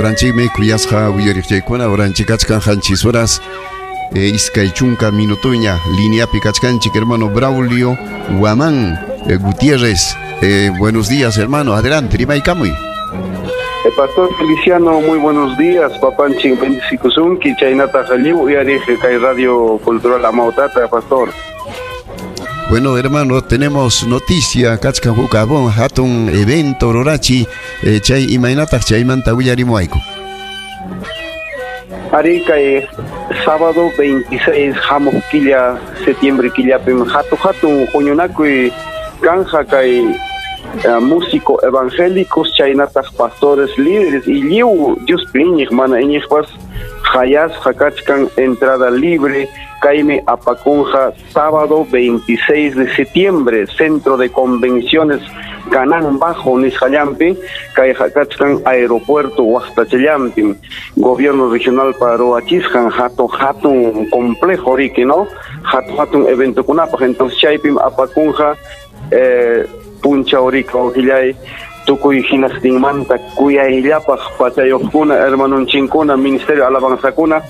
Oranchikmi kuyasqa uyariqchaykuna oranchik kachkan 7 horas 20 minutoña lineapi kachkanchik hermano Braulio Guamán Gutiérrez. Buenos días, hermano, adelante, rimaykamuy. Pastor Feliciano, muy buenos días. Papanchin bendicikusunki, chaynata lliw uyariq kay Radio Cultural Amautata, pastor. Bueno, hermano, tenemos noticia, kachkan huk abon hatun evento rurachi, chay imaynataq chaymanta willarimuayku. Ari kay sábado 26 hamuq killa septiembre killapim hatu hatun huñunakuy kanja kay músico evangélicos chaynataq pastores líderes y lliw Diospi iñiq mana iñiqpas hayasqa kachkan entrada libre kaymi apakunja sábado 26 de septiembre centro de convenciones Canán Bajo nisqallampi kayqa kachkan aeropuerto Huaqtachallampi gobierno regional paruachisqan hatun hatun complejo riki, no, hatun hatun eventokunapaq. Entonces chaypim apakunja punchaw riki wawqillay tukuy hinastinmanta kuyayllapaq pachayuqkuna hermanonchinkuna ministerio alabanzakuna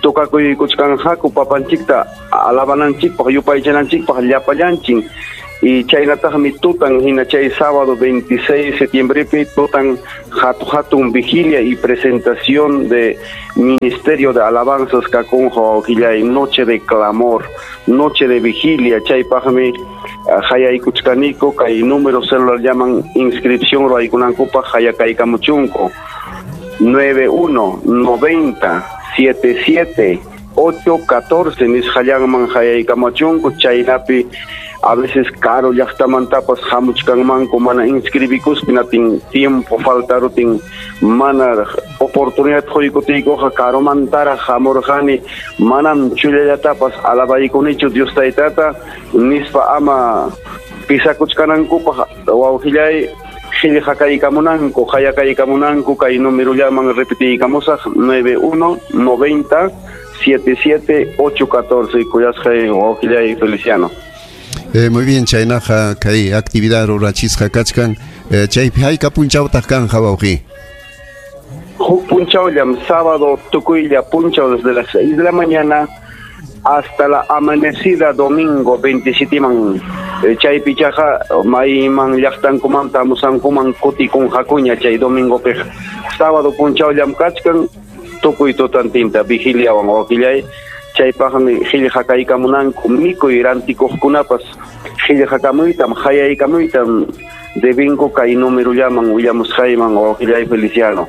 tukakuykuchkanqaku papanchikta alabananchikpaq yupaychananchikpaq llapallanchin. Y chaynataqmi tutan hina chay sábado 26 septiembrepi tutan hatu hatun vigilia y presentación de Ministerio de Alabanzas kakunqa wawqillay noche de clamor, noche de vigilia. Chaypaqmi hayaykuchkaniku kay número celular llaman inscripción ruwaykunankupaq hayakaykamuchunku 91 90 77 814 nisqallanman hayaykamachunku. Chaynapi a veces caro llaqtamantapas hamuchkanmanku mana inscribikuspi natin tiempo faltarutin mana oportunidad quykutiykuqa karumantaraq hamurqani manam chullallatapas alabaykunichu Dios taytata nispa ama pisakuchkanankupaq wawqillay qillqakaykamunanku hayakaykamunanku kay numerollaman repetiykamusaq 91 90 77 814 kuyasqay wawqillay Feliciano. Muy bien, chaynaqa kay actividad rurachisqa kachkan. Chaypi hayka punchawtaq kanja wawqi? Huk punchawllam sábado tukuylla punchaw desde las 6 de la mañana hasta la amanecida domingo 27 man. Chaypichaqa mayman llaqtankumanta hamusankuman kutikunqakuña chay domingopiqa. Sábado punchawllam kachkan tukuy tutantinta vigiliawan wawqillay. Chaypaqmi qillqakaykamunanku mikuy rantikuqkunapas qillqakamuytam hayaykamuytam debinku kay numerollaman willamusqayman wawqillay Feliciano.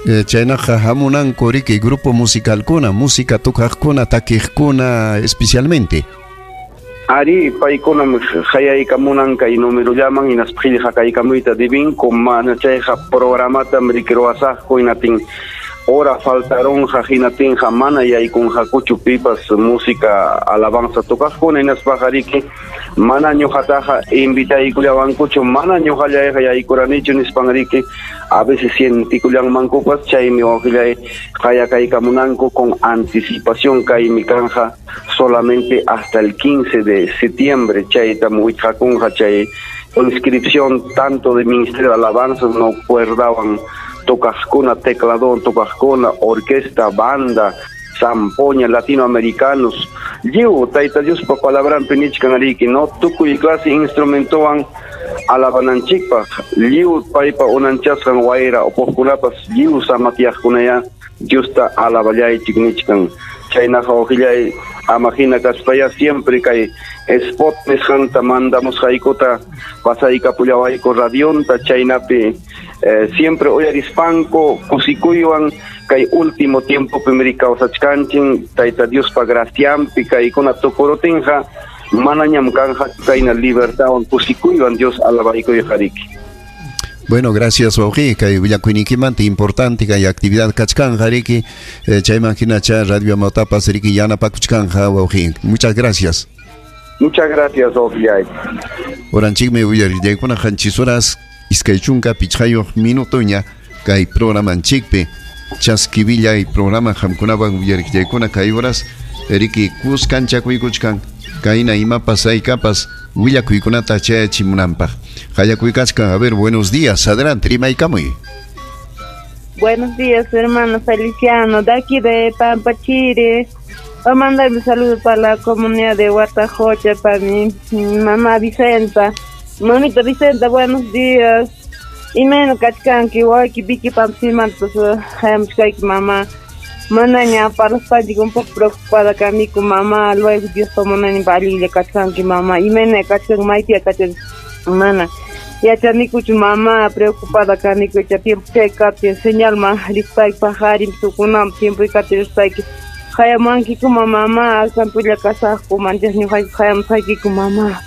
Chaynaqa hamunanku riki grupo musicalkuna, música tukaqkuna, takiqkuna especialmente. Ari paykunam hayaykamunan kay numerollaman hinaspa qillqakaykamuyta debinku mana chayqa programatam riki ruwasaqku hinatin hora faltaronja hinatinja mana yaykunqakuchu pipas música alabanza tocaqkuna hinaspaqa riki mana ñuqataqa invitaykullawankuchu mana ñuqallayqa yaykuranichu nispan riki a veces sientikullanmankupas chaymi wawqillay hayakaykamunanku con anticipación kaymi kanja solamente hasta el 15 de septiembre chaytam wichqakunqa chay inscripción tanto de Ministerio de Alabanzas no cuerdaban tocaqkuna, tecladón tocaqkuna, orquesta, banda, zampoña, latinoamericanos. Lliw Tayta Diospa palabranpi nichkan riki, no tukuy clase instrumentowan alabananchikpaq, lliw paypa unanchasqan wayra upuqkunapas lliw samatiyaqkunaya Diosta alaballaychik nichkan. Chaynaqa wawqillay ama hina kaspaya siempre kay spot nisqanta mandamusqaykuta pasaykapullawayku radionta chaynapi siempre uyarispanku kusikuywan kay último tiempopim kawsachkanchin Tayta Diospa gracianpi kaykuna tukurutinqa manañam kanja kayna libertadwan kusikuywan Dios alabaykuyqa riki. Bueno, gracias, wawqi, kay willakuyniykimanta importante kay actividad kachkanja riki, chayman hinacha Radio Amautapas riki yanapakuchkanja wawqi. Muchas gracias. Muchas gracias, wawqillay. Oranchikmi uyarillaykuna 7 horas 25 minutoña kay programanchikpi chaskivillay programa qamkunawan uyarillaykuna kay horas riki kuskanchakuykuchkan kayna imapas haykapas willakuykunata chayachimunanpaq. Hayakuykachkan, a ver, buenos días, adelante, rimaykamuy. Buenos días, hermano Feliciano, de aquí de Pampachiri. Voy a mandar un saludo para la comunidad de Huatajocha, para mi mamá Vicenta. Mamita Vicenta, buenos días. Y menos kachkanki, waki, viki, pampsimantos, hayamchkayki, mamá. Manaña, para los padres un poco preocupada kaniku, mamá. Luego Dios tomonaña balilla kachkanki, mamá. Y menos kachkan, maitia kachkan, mana. Yachanikuchu mamá, preocupada kaniku, cha tiempo chay señal ma, rispayki pajarim, tukunam, tiempo ikati rispayki. Hayamankiku mamá, alkampulla kasaqku, manchas ñuqayku hayamusqaykiku mamá.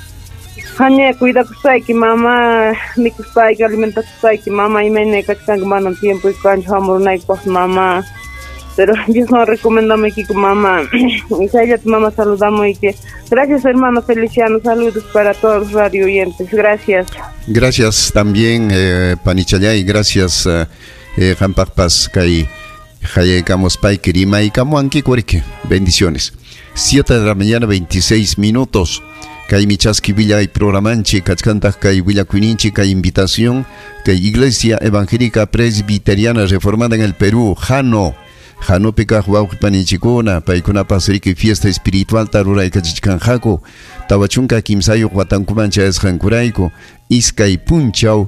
Haña cuidakuspayki mamá, mikuspayki, alimentakuspayki mamá, imayna kachkanki manam tiempo kanchu hamurunaykipaq mamá. Pero Dios nos recomendamoykiku mamá. Y chayllata mamá saludamoyki. Gracias, hermano Feliciano, saludos para todos los radio oyentes. Gracias. Gracias también, Panichayay, gracias, qampaqpas kay hayaykamuspayki rimaykamuwankiku. Bendiciones. 7 de la mañana, 26 minutos. Kay chaski willay programanchik kachkantaq kay willakuyninchik kay invitación kay Iglesia Evangélica Presbiteriana Reformada en el Perú, Jano. Janopi kaq wawqi paninchikuna, paykunapas riki fiesta espiritual ruraykachichkanqaku, 43 watankuman chayasqankurayku, 2 punchaw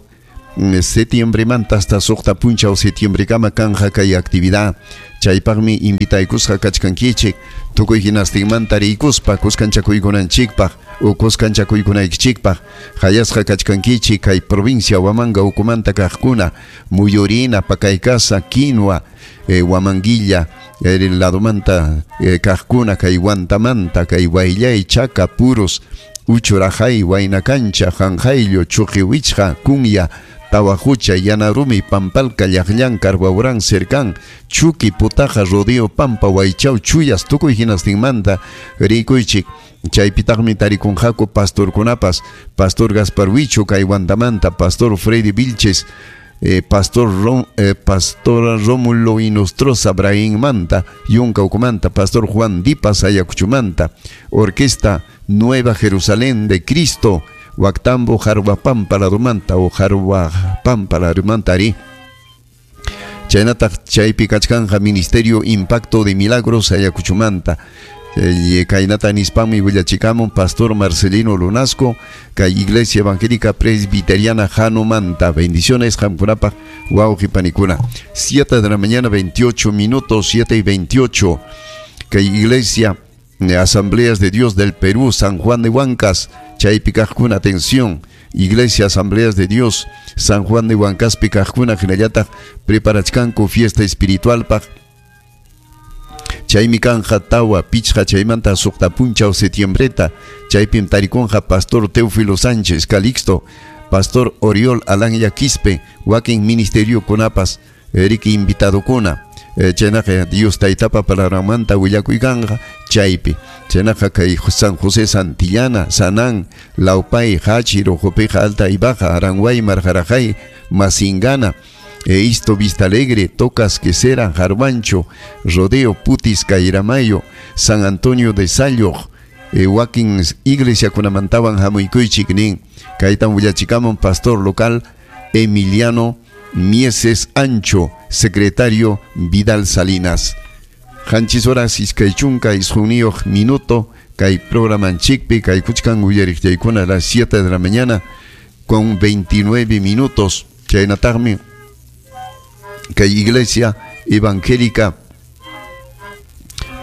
septiembremanta hasta 6 punchaw septiembrekama kanja kay actividad. Chaypaqmi invitaykusqa kachkankichik, tukuy hinastinmanta riykuspa kuskanchakuykunanchikpaq o kuskanchakuykunaykichikpaq, hayasqa kachkankichik kay provincia Huamanga ukumanta kaqkuna, Muyurina, Pakaykasa, Quinua, Huamanguilla, el ladomanta kaqkuna, kay Huantamanta, kay Huayllay, Chaca, Puros, Uchurajay, Huaynacancha, Janjayllo, Chuqiwichqa, Cunya, Tawajucha, Yanarumi, Pampalca, Llaqllan, Carhuaurán, Cercán, Chuqui, Putaja, Rodeo, Pampa, Huaychao, Chuyas, tukuy hinastinmanta, rikuychik. Chaypitaqmi tarikunqaku pastorkunapas, Pastor Gaspar Huicho, kay Huantamanta, Pastor Freddy Vilches, Pastor Rómulo Inostroza, Brahim Manta, Yunka Ucumanta, Pastor Juan Dipas, Ayacuchumanta, Orquesta Nueva Jerusalén de Cristo, Huactambo, Jarhuapampa, Larumanta, o Jarhuapampa, Larumanta, ari. Chaynataq chaypi kachkanja Ministerio Impacto de Milagros, Ayacuchumanta. Kaynata nispanmi willachikamun Pastor Marcelino Lunasco, kay Iglesia Evangélica Presbiteriana Janumanta. Bendiciones, qamkunapaq, wawqi panikuna. 7 de la mañana, 28 minutos, 7:28. Kay Iglesia Asambleas de Dios del Perú, San Juan de Huancas, chaypi kaqkuna, atención. Iglesia Asambleas de Dios, San Juan de Huancaspi kaqkuna, hinallataq preparachkanku fiesta espiritual paq. Chaymi kanja 4, 5 chaymanta 6 punchaw septiembreta, chaypim tarikunqa Pastor Teófilo Sánchez Calixto, Pastor Oriol Alanya Quispe, wakin ministerio kunapas, riki invitadokuna. Chaynaqa Dios taytapa palabranmanta willakuykanqa chaypi. Chaynaqa kay San José Santillana, Sanán, Laupay, Hachi, Rojopeja, Alta y Baja, Aranguay, Marjarajay, Masingana, Isto Vista Alegre, Tocas, Quesera, Jarvancho, Rodeo, Putis, Cairamayo, San Antonio de Sayo, wakin iglesia kunamantawan hamuykuychik nin. Kaytan willachikamun pastor local Emiliano Mieses Ancho, secretario Vidal Salinas. 7 horas 29 minuto, kay programanchikpi, kay kuchkan uyariqchaykuna a las 7 de la mañana con 29 minutos. Chaynataqmi kay Iglesia Evangélica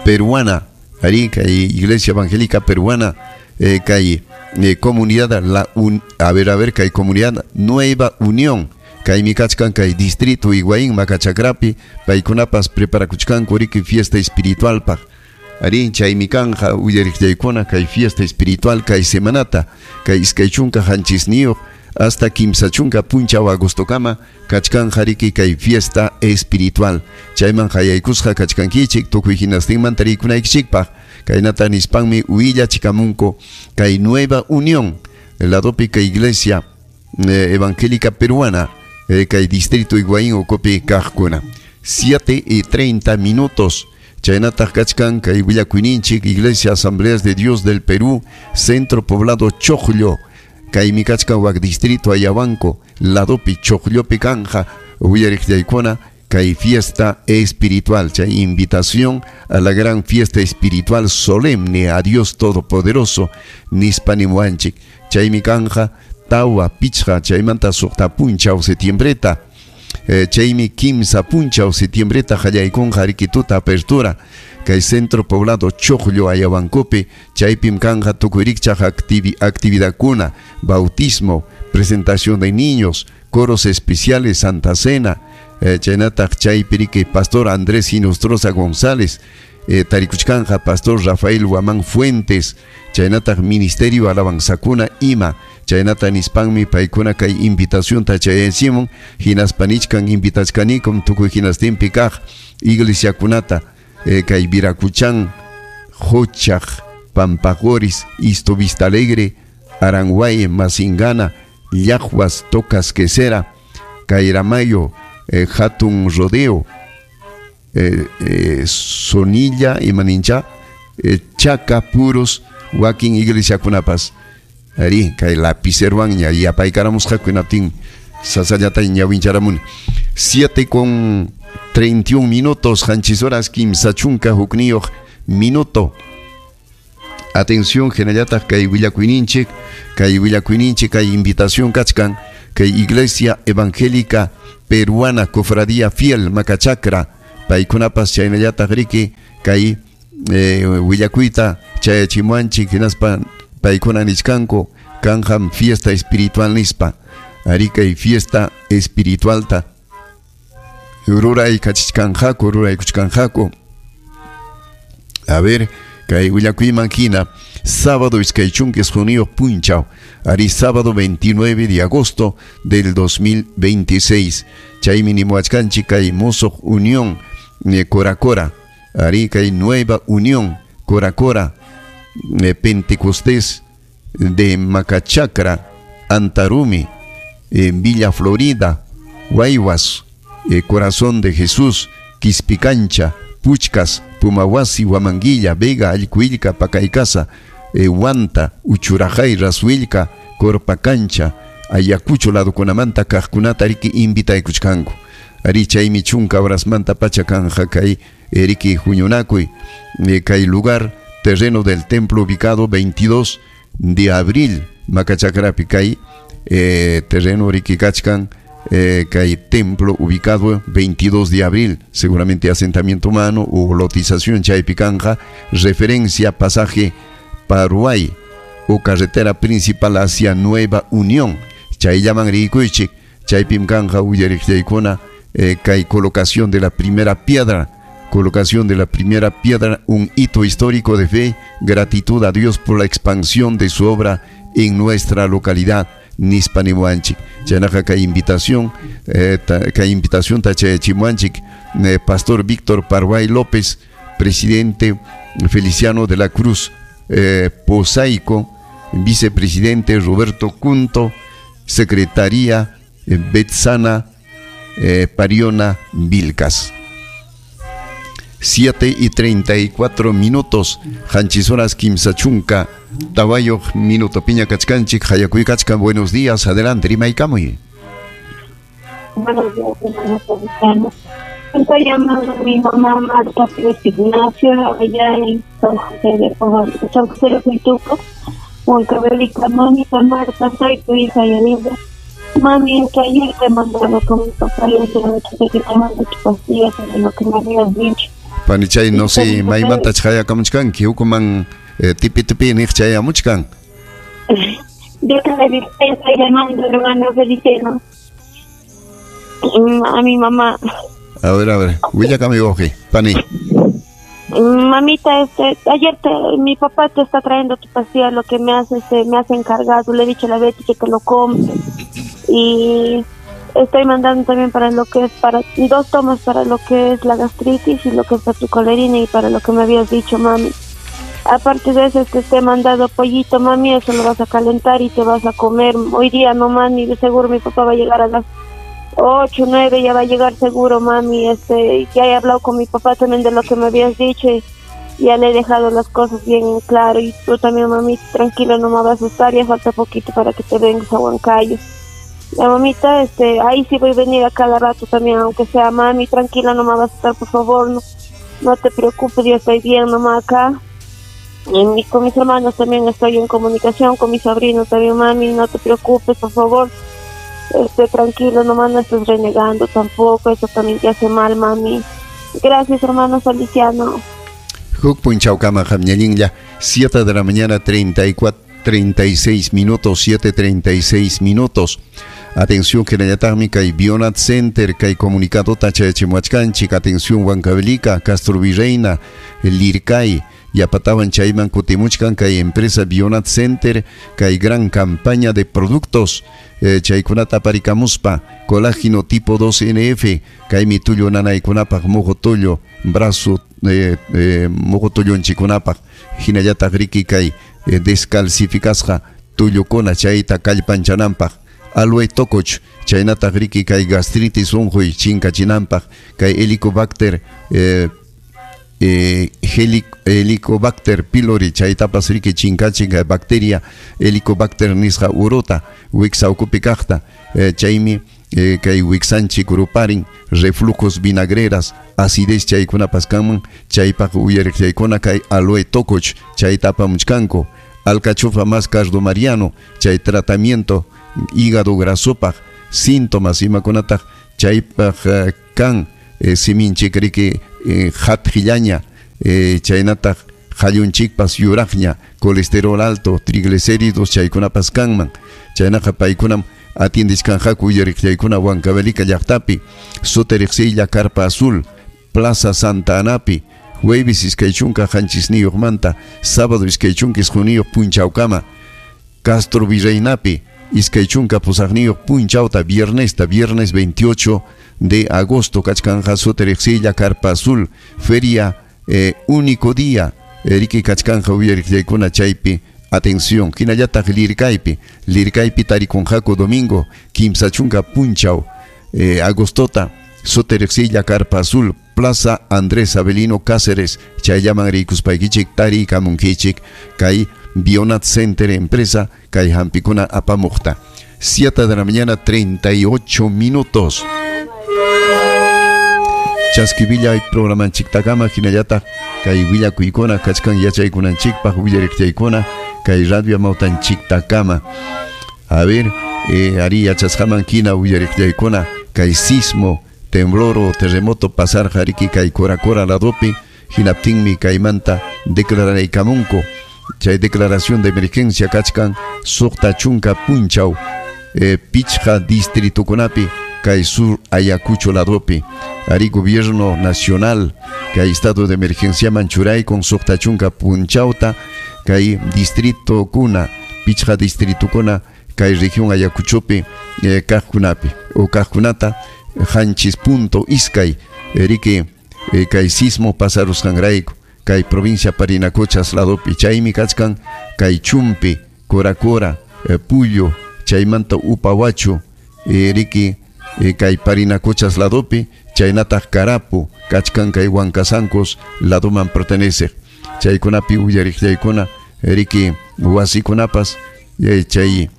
Peruana, ari kay Iglesia Evangélica Peruana, kay comunidad la un, a ver kay comunidad Nueva Unión, kay mikachkan kay distrito Higuaín Macachacrapi, paykunapas preparakuchkanku riki fiesta espiritual paq. Ari chaymi kanja uyariqchaykuna kay fiesta espiritual kay semanata, kay 27 hasta 30 punchaw agostokama kachkanja riki kay fiesta espiritual. Chayman hayaykusqa kachkankichik tukuy hinastinmanta rikunaykichikpaq. Kaynata nispanmi willachikamunku kay Nueva Unión, ladopi kay Iglesia Evangélica Peruana, kay distrito Higuaín ukupi kaqkuna. 7:30 minutos. Chaynataq kachkan kay willakuyninchik Iglesia Asambleas de Dios del Perú, Centro Poblado Chocllo, kaymi kachkan wak distrito Ayahuanco, ladopi Chocllopi kanja uyariqchaykuna kay fiesta espiritual, chay invitación a la gran fiesta espiritual solemne a Dios Todopoderoso nispa nimuwanchik. Chaymi kanja tawa pichqa chaymanta suqta punchaw septiembreta, chaymi kimsa punchaw septiembreta qallaykunqa riki tuta apertura kay centro poblado Choclo Ayahuancopi, chaypim kanja tukuy rikchaq actividadkuna, bautismo, presentación de niños, coros especiales, Santa Cena, chaynataq chaypi riki Pastor Andrés Hinostroza González, tarikuchkanja Pastor Rafael Guamán Fuentes, chaynataq Ministerio Alabanzakuna ima, chaynata nispanmi paykuna kay invitación ta chayachimun, hinaspa nichkan invitachkanikum tukuy hinastinpi kaq iglesiakunata, kay Viracuchán, Jochaj, Pampagoris, Isto Vista Alegre, Aranguay, Masingana, Llajuas, Tocas Quesera, Cairamayo, Hatun Rodeo, Sonilla y Manincha, Chaca, Puros, Wakin iglesiakunapas. Ari, kay lapicerowan ña yapaykaраmusqa kunaptin sasallata ñawincharamuni. 7:31 minutos, qanchis horas kimsa chunka hukniyuq minuto. Atención, hinallataq kay willakuyninchik, kay invitación kachkan, kay Iglesia Evangélica Peruana Cofradía Fiel Macachacra, paykunapas chaynallataq riki kay willakuyta chayachimuanchik, hinaspa paykuna nichkanku kanjam fiesta espiritual nispa. Ari kay fiesta espiritualta ruraykachichkanqaku, ruraykuchkanqaku. A ver, kay willakuyman hina, sábado iskay chunka isquniyuq punchaw, ari sábado 29 de agosto del 2026. Chaymi nimuwachkanchik kay Mosoq Unión Coracora, ari kay Nueva Unión Coracora, Pentecostés de Macachacra, Antarumi, Villa Florida, Guaywas, Corazón de Jesús, Quispicancha, Puchcas, Pumahuasi, Huamanguilla, Vega, Allcuilca, Pacaycasa, Huanta, Uchurajay, Rasuilca, Corpacancha, Ayacucho ladokunamanta kaqkunata riki invitaykuchkanku. Ari chaymi chunka horasmanta pacha kanja kay riki huñunakuy, kay lugar terreno del templo ubicado 22 de abril Macachacrapi kay terreno riki kachkan, kay templo ubicado 22 de abril, seguramente asentamiento humano o lotización chaypi kanja, referencia pasaje Paruay o carretera principal hacia Nueva Unión. Chayllaman rikuychik, chaypim kanja uyariqchaykuna, kay colocación de la primera piedra, un hito histórico de fe, gratitud a Dios por la expansión de su obra en nuestra localidad, nispa nimuanchik. Chaynaqa kay invitación, tachayachimuanchik, Pastor Víctor Parguay López, presidente Feliciano de la Cruz Posaico, vicepresidente Roberto Cunto, secretaría Betsana Pariona Vilcas. 7:34 minutos, qanchis horas kimsa chunka tawayuq minuto piña kachkanchik, hayakuy kachkan. Buenos días, adelante, rimaykamuy. Buenos días, hermano Feliciano. Estoy llamando a mi mamá Marta Pérez Ignacio, allá en San José de San José de Huituco, Huancavelica. Mamita Marta, soy tu hija Yanira. Mami, es que ayer te mandaba con mi papá y le que te mando tu pastilla sobre lo que me habías dicho. Panichay, no sé, maymanta chayakamuchkanki, hukuman tipi tipi niq chayamuchkan. Yo te estoy llamando, hermano Feliciano, a mi mamá. A ver, willakami wawqi, pani. Mamita, ayer mi papá te está trayendo tu pastilla, lo que me hace, me hace encargado, le he dicho a la Betty que te lo compre. Y estoy mandando también para lo que es, para 2 tomas para lo que es la gastritis y lo que es para tu colerina y para lo que me habías dicho, mami. Aparte de eso, te he mandado pollito, mami, eso lo vas a calentar y te vas a comer. Hoy día no, mami, de seguro mi papá va a llegar a las 8, 9, ya va a llegar seguro, mami. Ya he hablado con mi papá también de lo que me habías dicho y ya le he dejado las cosas bien en claro. Y tú también, mami, tranquila, no me vas a asustar, ya falta poquito para que te vengas a Huancayo. La mamita, ahí sí voy a venir a cada rato también, aunque sea mami, tranquila, no me vas a estar, por favor, no, no te preocupes, yo estoy bien nomás acá. Y con mis hermanos también estoy en comunicación, con mis sobrinos también, mami, no te preocupes, por favor, tranquilo, nomás no estés renegando tampoco, eso también te hace mal, mami. Gracias, hermano Feliciano. Huk punchawkama qamñallinlla, 7 de la mañana, 34, 36 minutos, 7:36 minutos. Atención, que la kay Bionat Center, kay comunicado tachayachimuachkanchik, atención, Huancavelica, Castro Virreina, Lircay, Yapatawan chayman kutimuchkan kay empresa Bionat Center, kay gran campaña de productos, chaykunata aparikamuspa, colágeno tipo 2NF, kay mitullo nanaykunapaq, mojo tullo, brazo, mojo tullunchikunapaq, hinallataq riki kay descalcificasqa tullukuna chayta kallpanchananpaq, aloe tokoch, chaynataq riki kay gastritis unquy chinkachinanpaq, kay helicobacter Helicobacter pylori, chaytapas riki chinkachin kay bacteria Helicobacter nisqa uruta wiksa ukupi kaqta, chaymi kay wiksanchik ruparin reflujos vinagreras, acidez chaykunapas kanman, chaypaq uyariq chaykuna kay aloe tokoch chayta apamuchkanku, alcachofa más cardo mariano, chay tratamiento hígado grasopaq, síntomas imakunataq chaypaq kan siminchik riki hatqillaña, chaynataq qallunchikpas yuraqña, colesterol alto, triglicéridos chaykunapas kanman, chaynaqa paykunam atiendishkanqaku uyariq chaykuna Huancavelica llaqtapi, Soteriqsilla Carpa Azul, Plaza Santa Anapi, jueves 27 manta, sábado 29 punchawkama, Castro Virreinapi, 28 punchawta, viernesta, viernes 28 de agosto, kachkanja Soteriqsilla Carpa Azul, feria único día, riki kachkanja uyariq chaykuna chaypi, atención, hinallataq Lircaypi, Lircaypi tarikunqaku domingo, 30 punchaw, agostota, Soteriqsilla Carpa Azul, Plaza Andrés Avelino Cáceres, chayllaman rikuspaykichik tarikamunkichik, kay Bionat Center empresa, kay hampikuna apamuqta. 7 de la mañana, 38 minutos. Chaskivilla programanchiktakama hinallataq kay willakuykuna kachkan yachaykunanchikpaq willariqchaykuna kay radio amawtanchiktakama. A ver, ari yachasqaman hina willariqchaykuna kay sismo, temblor o terremoto pasarqa riki kay Cora ladopi, hinaptinmi kaymanta declararaykamunku. Chay declaración de emergencia kachkan 60 punchaw, pichqa distritukunapi kay sur Ayacucho ladopi. Ari gobierno nacional kay estado de emergencia manchuraykun 60 punchawta kay distrito kuna, pichqa distritukuna kay región Ayacuchopi kaqkunapi o kaqkunata 7.2 riki kay sismo pasarusqanrayku kay provincia Parinacochas ladopi, chaymi kachkan kay Chumpi, Coracora, Puyo, chaymanta Upahuacho, riki kay Parinacochas ladopi, chaynataq Carapo, kachkan kay Huancasancos ladoman pertenece. Chaykunapi uyariq chaykuna riki wasikunapas, chay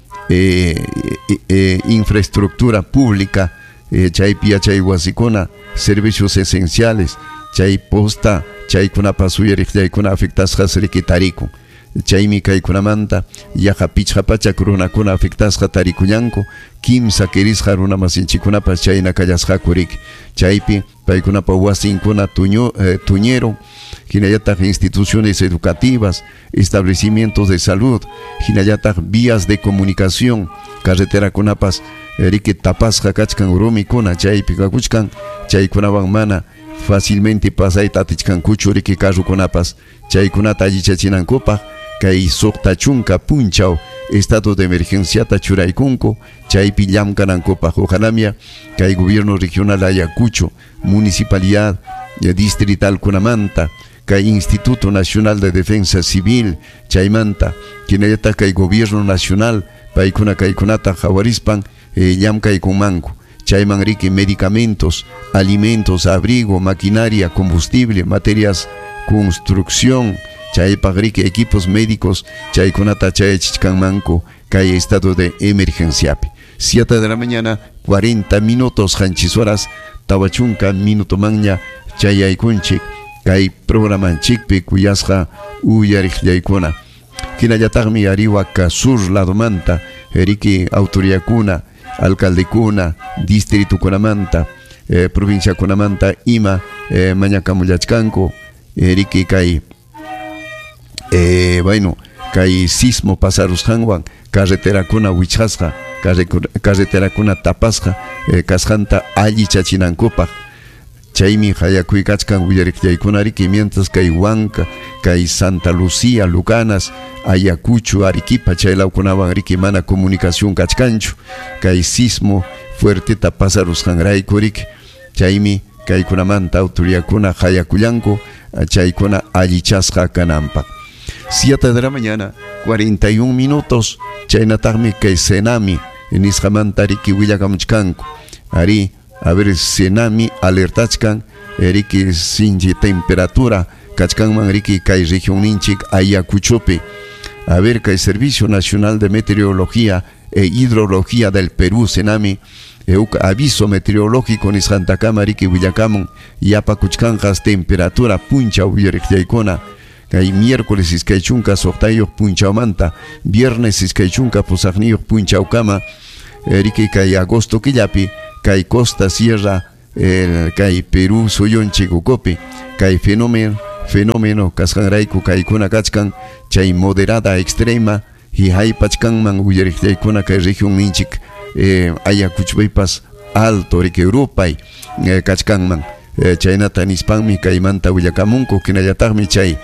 infraestructura pública, chaypi yachay wasikuna, servicios esenciales, chay posta, chaykunapas uyariq chaykuna afectasqas riki tarikun. Chaymi kaykunamanta yaqa 500 runakuna afectasqa tarikullanku, 3 kirisqa runa masinchikunapas chayna kallasqaku riki. Chaypi paykunapa wasinkuna tuñeron, hinallataq instituciones educativas, establecimientos de salud, hinallataq vías de comunicación, carreterakunapas riki tapasqa kachkan rumikuna chaypi kakuchkan, chaykunawan mana fácilmente pasayta atichkankuchu riki carrukunapas, chaykunata allichachinankupaq kay 60 punchaw estado de emergenciata churaykunku, chaypi llamkanankupaq. Ojalamia kay gobierno regional Ayacucho, municipalidad distrital kunamanta, kay Instituto Nacional de Defensa Civil chaymanta, hinallataq kay gobierno nacional paykuna kaykunata qhawarispan llamkaykunmanku. Chayman riki medicamentos, alimentos, abrigo, maquinaria, combustible, materias, construcción, chaypaq riki equipos médicos, chaykunata chayachichkanmanku kay estado de emergenciapi. 7 de la mañana 40 minutos, qanchis horas 40 minutomanña chayaykunchik kay programanchikpi kuyasqa uyariqllaykuna. Hinallataqmi Arihuaca sur ladomanta riki autoridadkuna, alcaldekuna, distritukunamanta, provinciakunamanta ima mañakamullachkanku riki kay bueno, kay sismo pasarusqanwan carreterakuna wichqasqa, carreterakuna tapasqa kasqanta allichachinankupaq. Chaymi hayakuykachkan willariqllaykuna riki mientras kay Huanca, kay Santa Lucía, Lucanas, Ayacucho, Arequipa chaylawkunawan riki mana comunicación kachkanchu kay sismo fuerteta pasarusqanrayku riki. Chaymi kaykunamanta autoridadkuna hayakullanku chaykuna allichasqa kananpaq. 7 de la mañana 41 minutos, chaynataqmi kay Senami nisqamanta riki willakamuchkanku. Ari, a ver, Senami alertachkan riki sinchi temperatura kachkanman riki kay región ninchik Ayacuchopi. A ver, kay Servicio Nacional de Meteorología e Hidrología del Perú, Senami, aviso meteorológico nisqantakama riki willakamun yapakuchkanqas temperatura punchaw uyariqllaykuna. Kay miércoles 26 punchawmanta, viernes 28 punchawkama, riki kay agosto killapi, kay Costa Sierra, kay Perú suyunchik ukupi, kay fenómeno kasqanrayku kaykuna kachkan chay moderada extrema hihaypachkanman uyariqllaykuna kay región ninchik Ayacuchopipas alto riki rupay kachkanman. Chaynata nispanmi kaymanta willakamunku, hinallataqmi chay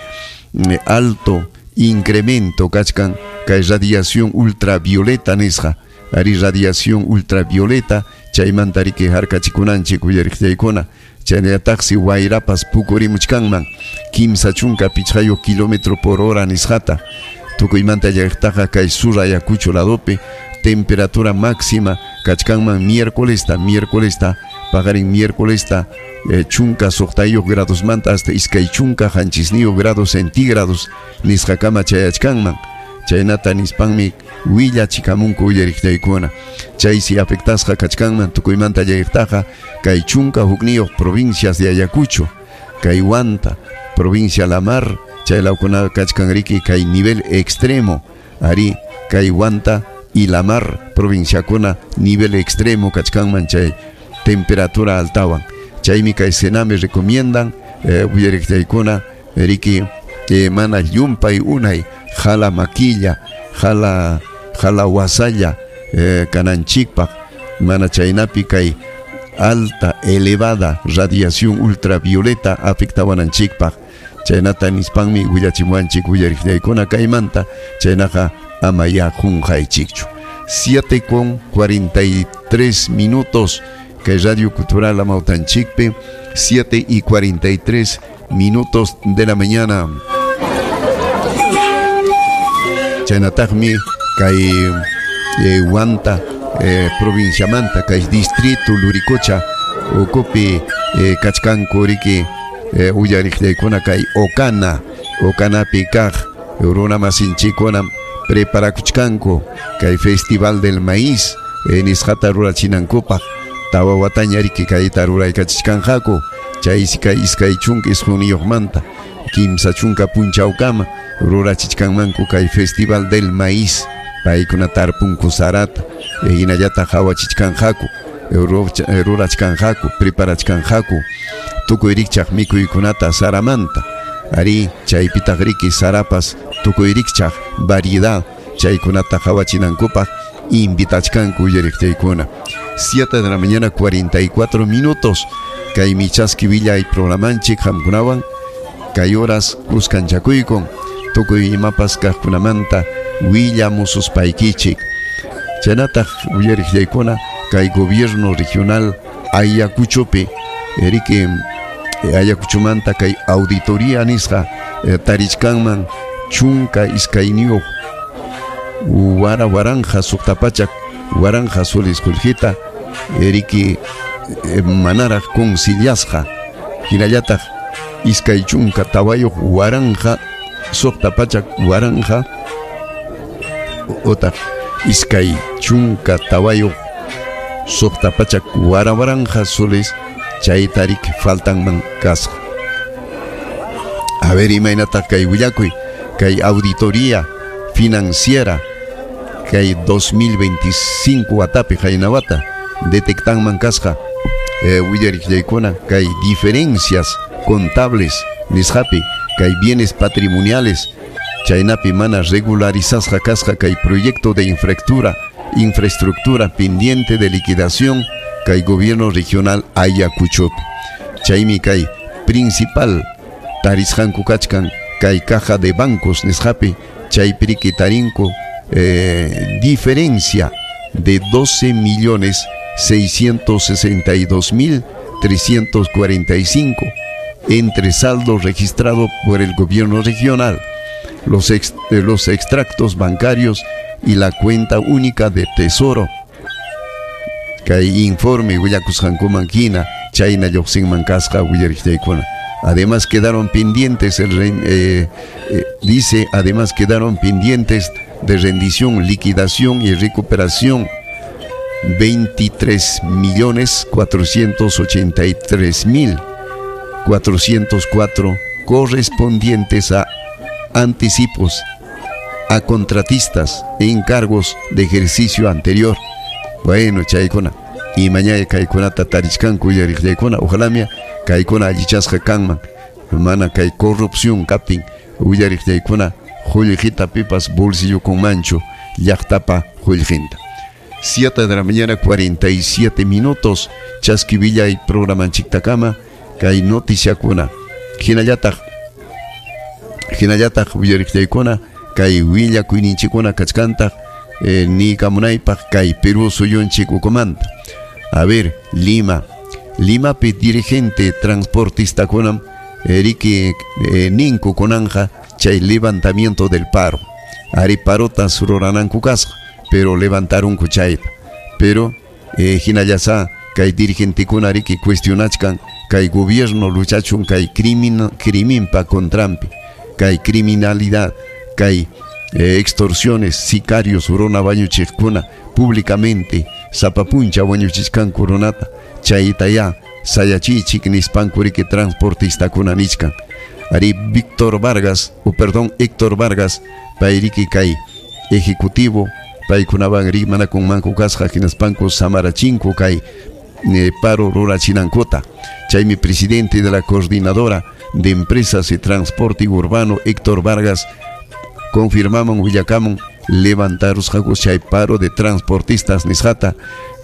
alto incremento kachkan kay radiación ultravioleta nisqa, ari radiación ultravioleta chaymanta riki harkachikunanchik uyariqllaykuna. Chaynallataqsi wayrapas pukurimuchkanman 35 kilómetro por hora nisqata. Tukuymanta llaqtaqa kay sur Ayacucho ladopi temperatura máxima kachkanman miércoles paqarin miércoles 16 grados manta hasta 27 grados centígrados nisqakama chayachkanman. Chaynata nispanmi willachikamunku uyariqllaykuna. Chaysi afectasqa kachkanman tukuymanta llaqtaqa kay 11 provincias de Ayacucho, kay Huanta, provincia La Mar, chaylawkuna kachkan riki kay nivel extremo, ari kay Huanta y La Mar provinciakuna nivel extremo kachkanman chay temperatura altawan. Chaymi kay Sename recomiendan uyariqllaykuna riki mana llumpay unay jala maquilla, jala wasalla kananchikpaq, mana chaynapi kay alta elevada radiación ultravioleta afectawananchikpaq. Chaynata nispanmi willachimuanchik uyariqllaykuna kaymanta, chaynaqa ama ya qunqaychikchu. 7:43 minutos kay Radio Cultural Amautanchikpi, 7:43 minutos de la mañana. Chaynataqmi kay Huanta provinciamanta kay distrito Luricocha ukupi kachkanku riki uyariqllaykuna kay Ocana, Ocanapi kaq runa masinchikuna preparakuchkanku kay Festival del Maíz nisqata rurachinankupaq. Tawa wataña riki kayta ruraykachichkanqaku chaysi kay 29manta 30 punchawkama rurachichkanmanku kay Festival del Maíz. Paykuna tarpunku sarata hinallataq hawachichkanqaku, rurachkanqaku, preparachkanqaku tukuy rikchaq mikuykunata saramanta. Ari chaypitaq riki sarapas tukuy rikchaq variedad chaykunata hawachinankupaq invitachkanku uyariqllaykuna. 7 de la mañana 44 minutos kay michaski willay programanchik qamkunawan kay horas kuskanchakuykun tukuy imapas kaqkunamanta willamususpaykichik. Chaynataq uyariqllaykuna kay gobierno regional Ayacuchopi riki Ayacuchomanta kay auditoría nisqa tarichkanman 12 waranja 600 waranja soles qullqita riki manaraq conciliasqa, hinallataq 24 waranja 600 waranja otaq 24 600 waranqa soles chayta riki faltanman kasqa. A ver, imaynataq kay willakuy, kay auditoría financiera kay 2025 watapi qayna wata detectanman kasqa willariqllaykuna kay diferencias contables nisqapi kay bienes patrimoniales chaynapi mana regularizasqa kasqa kay proyecto de infraestructura pendiente de liquidación kay gobierno regional Ayacuchopi. Chaymi kay principal tarisqanku kachkan kay caja de bancos nisqapi chaypi riki tarinku diferencia de 12.662.345 entre saldo registrado por el gobierno regional, los extractos bancarios y la cuenta única de tesoro. Kay informe willakusqankuman hina chayna lluqsinman kasqa willariqllaykuna. Además quedaron pendientes, dice, además quedaron pendientes de rendición, liquidación y recuperación 23.483.404 correspondientes a anticipos a contratistas e encargos de ejercicio anterior. Bueno, chaykuna. Y mañana kaykunata tarichkanku willariqllaykuna, ojalá mia kaykuna allichasqa kanman. Mana kay corrupción kaptin willariqllaykuna qullqita pipas bolsillukunmanchu llaqtapa qullqinta. 7 de la mañana 47 minutos, chaski programanchiktakama kay noticiakuna. Hinallataq willariqllaykuna kay willakuyninchikkuna kachkantaq niykamunaypaq kay Perú suyunchik ukumanta. A ver, Lima. Limapi dirigente transportistakunam riki ninku kunanja chay levantamiento del paro. Ari parotas rurananku kasqa, pero levantarunku chayta. Pero hinallasa kay dirigentekuna riki cuestionachkan kay gobierno luchachun kay criminpa contrampi, kay criminalidad, kay extorsiones, sicarios runa wañuchiqkuna públicamente sapa puncha wañuchichkanku runata chaytaya sayachiychik nispanku riki transportistakuna nichkan. Ari Víctor Vargas, o perdón, Héctor Vargas, payriki kay ejecutivo paykunawan rimanakunmanku kasqa hinaspanku samarachinku kay paro rurachinankuta. Chaymi presidente de la coordinadora de empresas de transporte urbano Héctor Vargas confirmaman willakamun levantarusqaku chay paro de transportistas nisqata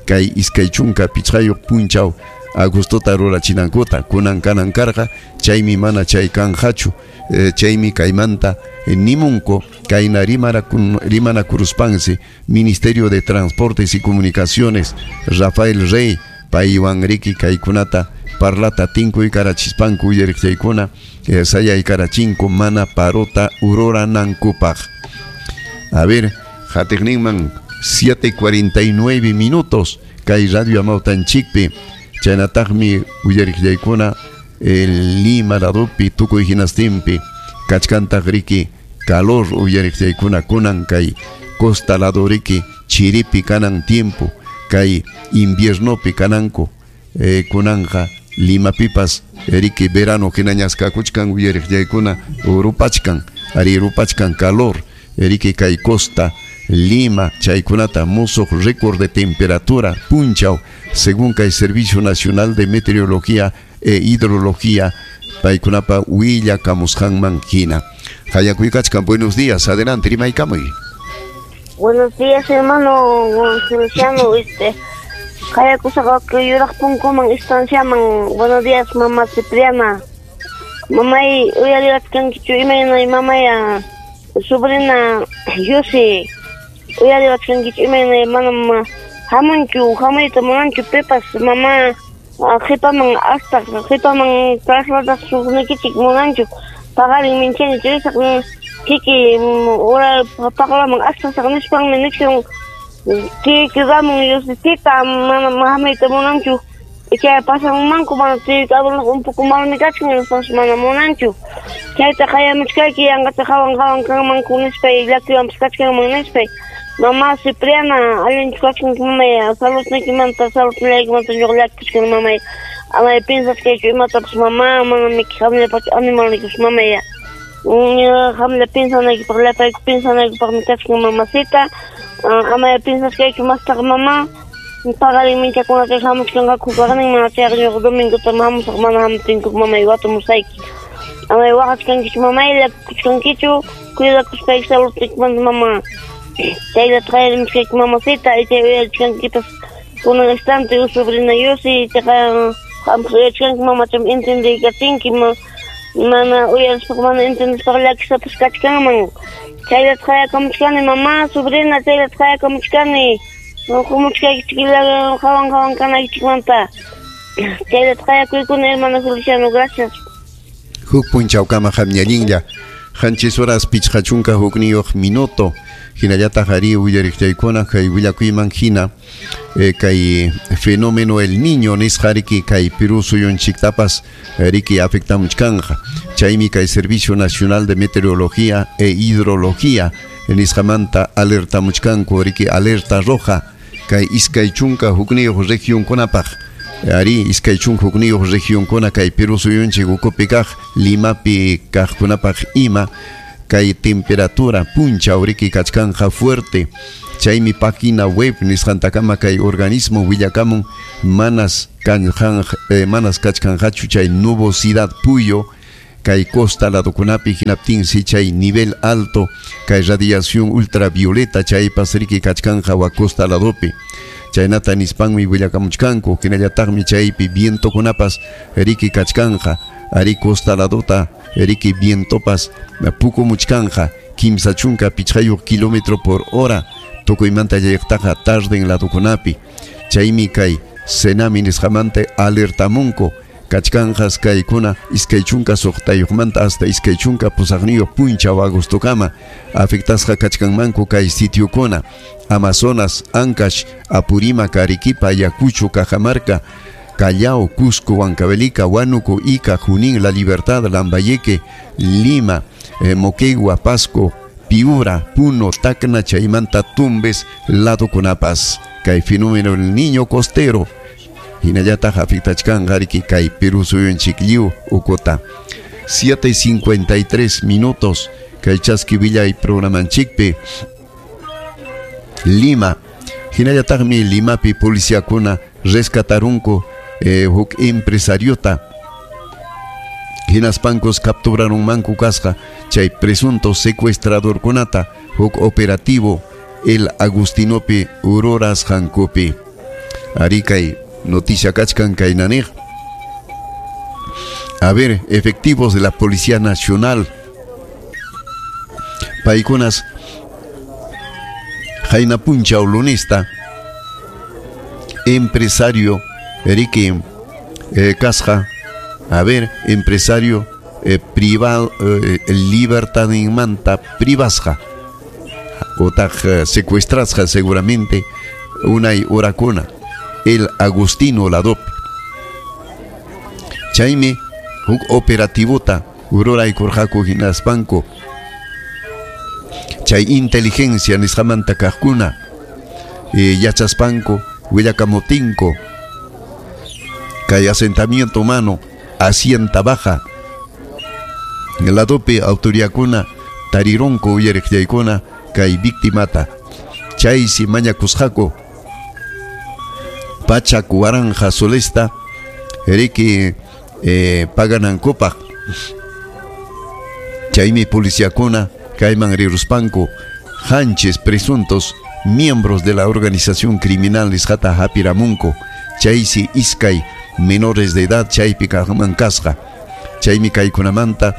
kay 25 punchaw agostota rurachinankuta kunan kanan karqa chaymi mana chay kanqachu chaymi kaymanta nimunku kayna rimanakuruspansi Ministerio de Transportes y Comunicaciones Rafael Rey paywan riki kaykunata parlata tinkuykaranchispanku willariqchaykuna sayaykarachinku mana parota ruranankupaq. A ver, qatiqninman 7:49 minutos kay Radio Amawtanchikpi chaynataqmi willariqllaykuna el Lima ladopi tukuy hinastinpi kachkantaq riki calor uyariqllaykuna kunan kay costa lado riki chiripi kanan tiempo kay inviernopi kananku kunanja Limapipas riki verano hinañas kakuchkan uyariqllaykuna rupachkan ari rupachkan calor riki kay costa Lima chaykunata musuq récord de temperatura punchaw según kay Servicio Nacional de Meteorología e Hidrología paykunapa willakamusqanman hina. Hayakuykachkan, buenos días, adelante, rimaykamuy. Buenos días, hermano Feliciano, qayakusaqaki yuraq punkuman estanciaman. Buenos días, mamá Cipriana. Mamay, uyariwachkankichu imaynay mamaya sobrina Yossi uyariwachkankichu imaynay manam hamunchu hamuyta munanchu pipas mamá qhipaman hasta qhipaman trasladasuqnikichik munanchu paqarin minchani risaq kiki ura paqlaman astasaq nispanmi nichkan tiyayki Ramon Yossi tita manam hamuyta munanchu chay pasanmanku mana tiyayki abueloqa un poco malmi kachkan nispas mana munanchu chayta qayamuchkayki yanqata qawan qawan kanmanku nispay llakiwanpas kachkanman nispay. Mamá Cipriana, allinchu kachkanki mamay, saludniykimanta, saludniykimanta ñuqa llakikuchkani mamay. Amay piensachkaychu imatapas mamá, manamiki qamllapachu animalnikipas mamay. Qamlla piensanaykipaq, llapayku piensanaykipaqmi kachkan mamacita. Amay piensachkaychu mastaqa mamá. Paqarin minchakunata hamuchkanqaku kaqnin mana chayqa ñuqa domingota hamusaq mana hamuptinku mamay watumusayki. Amay waqachkankichu mamay, llakikuchkankichu, cuidakuspayki saludniykimanta mamá. Chayllata qayarimuchkayki mamacita, chay uyarichkankipas kunan instante sobrina Yosi, chayqa qampas uyarichkanki mamacham entendeykachinki, mana uyarispaqa mana entendispaqa llakisapas kachkanman. Chayllata qayakamuchkani mamá, sobrina, chayllata qayakamuchkani. Qumuchkaykichik qawan qawan kanaykichikmanta. Chayllata qayakuykuna hermano Feliciano, gracias. Huk punchawkama qamñallinlla. 7 horas 51 minuto. Hinallataq ari willariqchaykuna kay willakuyman hina kay fenómeno el niño nisqa riki kay Perú suyunchiktapas riki afectamuchkanja. Chaymi kay Servicio Nacional de Meteorología e Hidrología nisqamanta alertamuchkanku riki alerta roja kay 21 regionkunapaq. Ari 21 regionkuna kay Perú suyunchik ukupi kaq Limapi kaqkunapaq ima kay temperatura punchaw riki kachkanja fuerte. Chaymi página web nisqantakama kay organismo willakamun manas manas kachkanjachu chay nubosidad puyo kay costa ladokunapi hinaptinsi chay nivel alto kay radiación ultravioleta chaypas riki kachkanja wa costa ladopi. Chaynata nispanmi willakamuchkanku hinallataqmi chaypi vientokunapas riki kachkanja ari costa ladota riki vientopas pukumuchkanja 35 kilómetro por hora tukuymanta llayqtaqa tarden ladokunapi. Chaymi kay Senami nisqamanta alertamunku kachkanjas kaykuna 26 hasta 28 punchaw agostokama afectasqa kachkanmanku kay sitiokuna Amazonas, Ancash, Apurímac, Arequipa, Ayacucho, Cajamarca, Callao, Cusco, Huancavelica, Huánuco, Ica, Junín, La Libertad, Lambayeque, Lima, Moquegua, Pasco, Piura, Puno, Tacna, Chaymanta, Tumbes, Ladokunapas. Kay fenómeno el niño costero. Hinallataq afectachkanqa riki kay Perú suyunchik lliw ukuta. 7:53 minutos. Kay chaski willay programanchikpi. Lima. Hinallataqmi Limapi policiakuna rescatarunku huk empresariota. Hinaspankos capturarunmanku kasqa chay presunto secuestradorkunata huk operativo el Agustinopi Urorasqankupi. Ari kay noticia kachkan kaynaniq. A ver, efectivos de la Policía Nacional paykunas qayna punchaw lunista empresario riki kasqa, a ver, empresario privado libertadinmanta privasqa otaq secuestrasqa seguramente unay horakuna el Agustino Ladopi. Chaymi huk operativota ruraykurqaku hinaspanku chay inteligencia nisqamanta kaqkuna yachaspanku willakamuptinku kay asentamiento humano Hacienda Baja ladopi autoridadkuna tarirunku uyariqllaykuna kay victimata. Chaysi mañakusqaku 100,000 solesta riki paganankupaq. Chaymi policiakuna kayman riruspanku hanchis presuntos miembros de la organización criminal nisqata hapiramunku. Chaysi iskay menores de edad chaypi kaqman kasqa. Chaymi kaykunamanta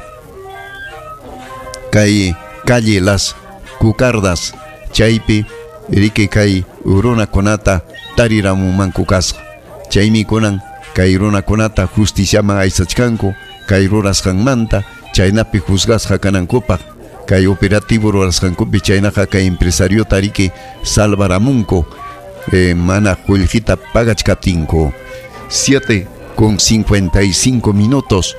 kay calle Las Cucardas chaypi riki kay runakunata tariramunmanku kasqa. Chaymi kunan kay runakunata justiciaman aysachkanku kay rurasqanmanta chaynapi juzgasqa kanankupaq kay operativo rurasqankupi chaynaqa kay empresariota riki salvaramunku mana qullqita pagachkaptinku. 7:55 minutos.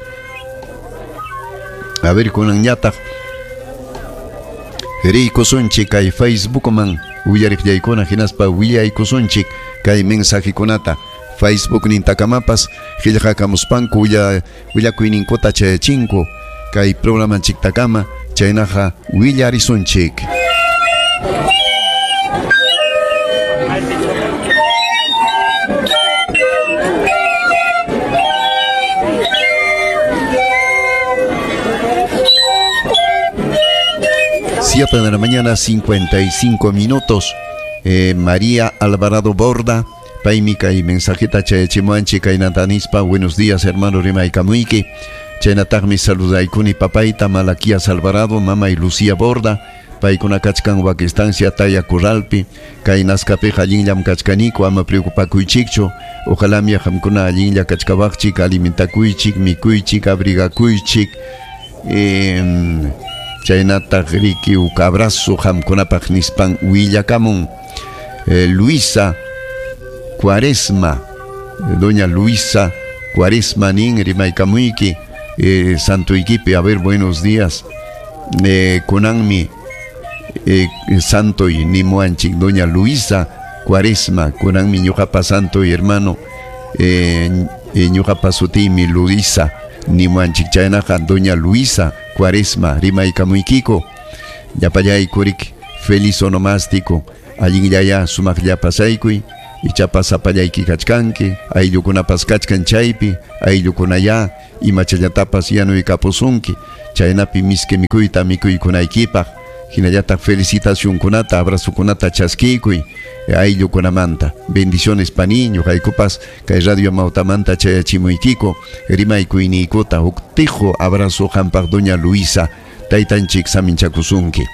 A ver, kunanñataq riykusunchik kay Facebookman Uyariqllaykuna hinaspa willaykusunchik kay mensajekunata Facebook nintakamapas qillqakamuspanku willakuyninkuta chayachinku kay programanchiktakama chaynaqa willarisunchik. 7 de la mañana, 55 minutos. María Alvarado Borda, paymi kay mensajita chayachimuanchik kaynatanispa. Buenos días, hermano rimaykamuyki. Chaynataqmi saludaykuni papayta Malaquías Alvarado, mama y Lucía Borda. Paykuna kachkan wak estancia Taya Corralpi. Kay Nazcapiqa allinllam kachkaniku, ama preocupakuychikchu. Ojalá mi qamkuna allinlla kachkawaqchik, alimentakuychik, mikuychik, abrigakuychik. Chaynataq riki huk abrazo qamkunapaq nispan willakamun. Luisa Cuaresma, doña Luisa Cuaresma nin rimaykamuyki, santoykipi. A ver, buenos días. Kunanmi santoy nimuanchik, doña Luisa Cuaresma, kunanmi ñuqapa santoy hermano, ñuqapa sutiymi Luisa nimuanchik. Chaynaqa doña Luisa Cuaresma rimaykamuykiko. Llapallaykurik feliz onomástico, allinllaya sumaqlla pasaykuy, ichapas sapallayki kachkanki, ayllukunapas kachkan chaypi, ayllukunaya imachallatapas yanuykapusunki, chaynapi miski mikuyta mikuykunaykipaq, hinallataq felicitacionkunata, abrazokunata chaskiykuy ayllukunamanta. Bendiciones pani, ñuqaykupas kay Radio Amautamanta chayachimuykiko, rimaykuyniykota huk tijo abrazo qampaq doña Luisa, taytanchik saminchakusunki.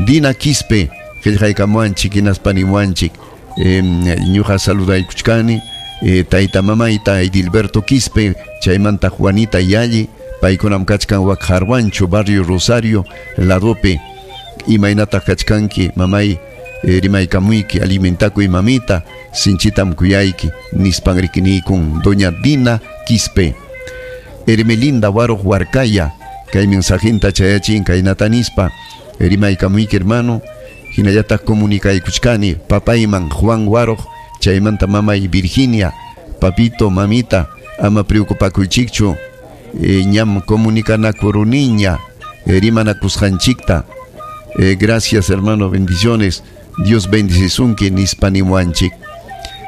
Dina Quispe, qillqaykamuanchik hinaspa nimuanchik, ñuqa saludaykuchkani, tayta mamayta Edilberto Quispe, chaymanta Juanita Yalli, paykunam kachkan wak Jarwancho, barrio Rosario, ladope. Imaynataq kachkanki mamay, rimaykamuyki, alimentakuy mamita, sinchitam kuyayki, nispan rikinikun doña Dina Quispe. Hermelinda Waruq Huarcaya, kay mensajinta chayachin kaynata nispa, rimaykamuyki hermano, hinallataq comunicaykuchkani papayman Juan Waruq, chaymanta mamay Virginia, papito, mamita, ama preocupakuychikchu, ñam comunicanakuruniña, rimanakusqanchikta. Gracias hermano, bendiciones, Dios bendicisunki nispa nimuanchik.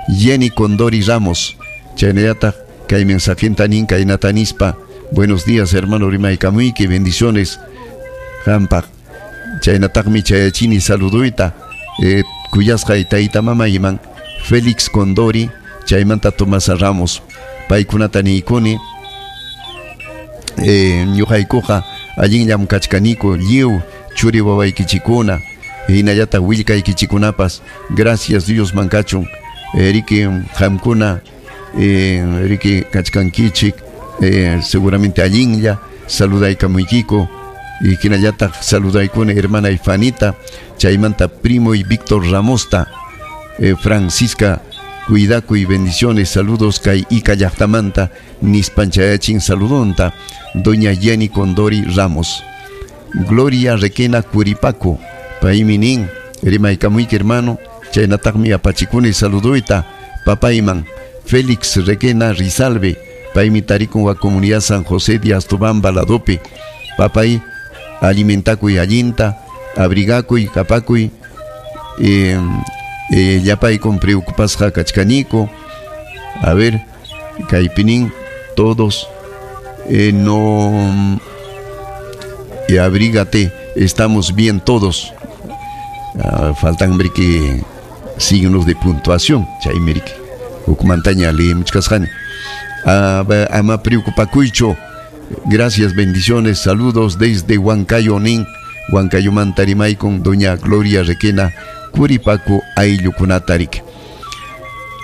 Jenny Condori Ramos, chaynallataq kay mensajinta nin kaynata nispa, buenos días hermano rimaykamuyki, bendiciones qampaq. Chaynataqmi chayachini saluduyta, kuyasqay tayta mamayman Félix Condori, chaymanta Tomasa Ramos, paykunata niykuni, ñuqaykuqa allinllam kachkaniku lliw churi wawaykichikuna, hinallataq willkaykichikunapas, gracias Dios mankachun, riki qamkuna, riki kachkankichik, seguramente allinlla saludaykamuykiko, y hinallataq saludaykuna hermana Ifanita, chaymanta primo y Víctor Ramosta, Francisca Cuidakuy, bendiciones, saludos kay Ica llaqtamanta, nispan chayachin saludonta, doña Jenny Condori Ramos. Gloria Requena Curipaco, paymi nin, rimaykamuyki hermano, chaynataqmi apachikuni saluduyta, papayman Félix Requena Rizalve, paymi tarikun wa comunidad San José de Astobamba ladopi, papay alimentakuy allinta, abrigakuy, kapakuy, llapaykun preocupasqa kachkaniko. A ver, kaypinin todos, no, abrígate, estamos bien todos. Faltan que signos de puntuación, chaymi riki hukmantaña leemuchkasqani. Ama preocupakuychu. Gracias, bendiciones, saludos desde Huancayo nin, Huancayomanta rimaykun doña Gloria Requena Curipaco ayllukunata riki.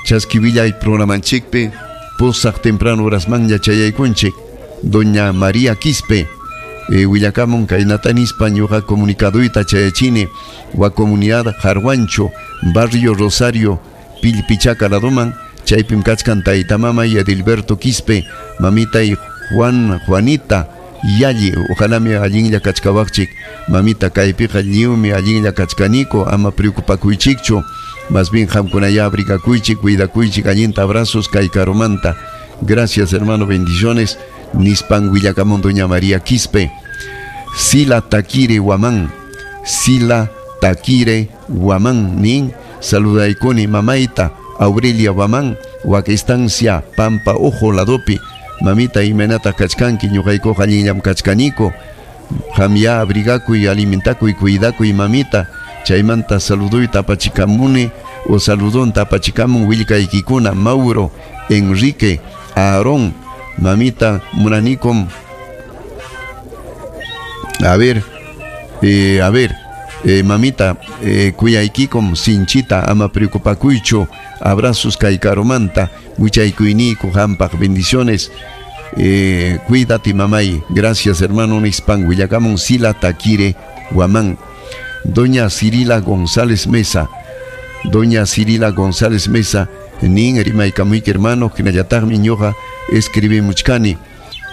Chaski programanchikpi pusaq temprano horasmanña chayaykunchik. Doña María Quispe, willakamun kaynata nispa ñuqa comunicaduyta chayachini wa comunidad Jarwancho, barrio Rosario, Pilpichaca ladoman, chaypim kachkan tayta mama y Edilberto Quispe, mamita y Juan, Juanita Yalli, ojalá mi allinlla kachkawaqchik, mamita kaypiqa lliwmi allinlla kachkaniko, ama preocupakuychikchu, más bien qamkunaya abrigakuychik, cuidakuychik, allinta abrazos kay karumanta. Gracias, hermano, bendiciones. Nispan willakamun doña María Quispe. Sila Taquire Guamán, Sila Taquire Guamán, nin saludaykuni mamayta Aurelia Guamán, wak estancia Pampa Ojo ladopi, mamita imaynata kachkanki, ñuqaykuqa allinllam kachkaniko, qamya abrigakuy, alimentakuy, cuidakuy mamita, chaymanta saluduyta apachikamuni o saludonta apachikamun willkaykikuna Mauro, Enrique, Aarón, mamita munanikum. A ver, mamita, kuyaykikum sinchita ama preocupakuychu, abrazos kay karumanta, muchaykuyniku hampaq, bendiciones. Cuídate mamay, gracias hermano nispan willakamun Sila Taquire Guamán. Doña Cirila González Mesa, Doña Cirila González Mesa, nin rimaykamuyki hermano, hinallataqmi ñuqa escribimuchkani,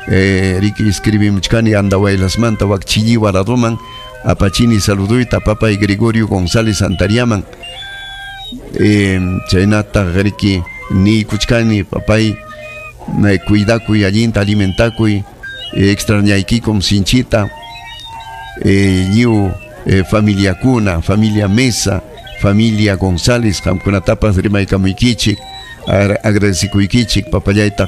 riki escribimuchkani Andahuaylasmanta wak Chilliwa ladoman, apachini saluduyta papay Gregorio González Antariaman, chaynataq riki niykuchkani papay, cuidakuy, allinta alimentakuy, extrañaykikum sinchita, lliw familiakuna, familia Mesa, familia González, qamkunatapas rimaykamuykichik, agradecikuykichik, papallayta.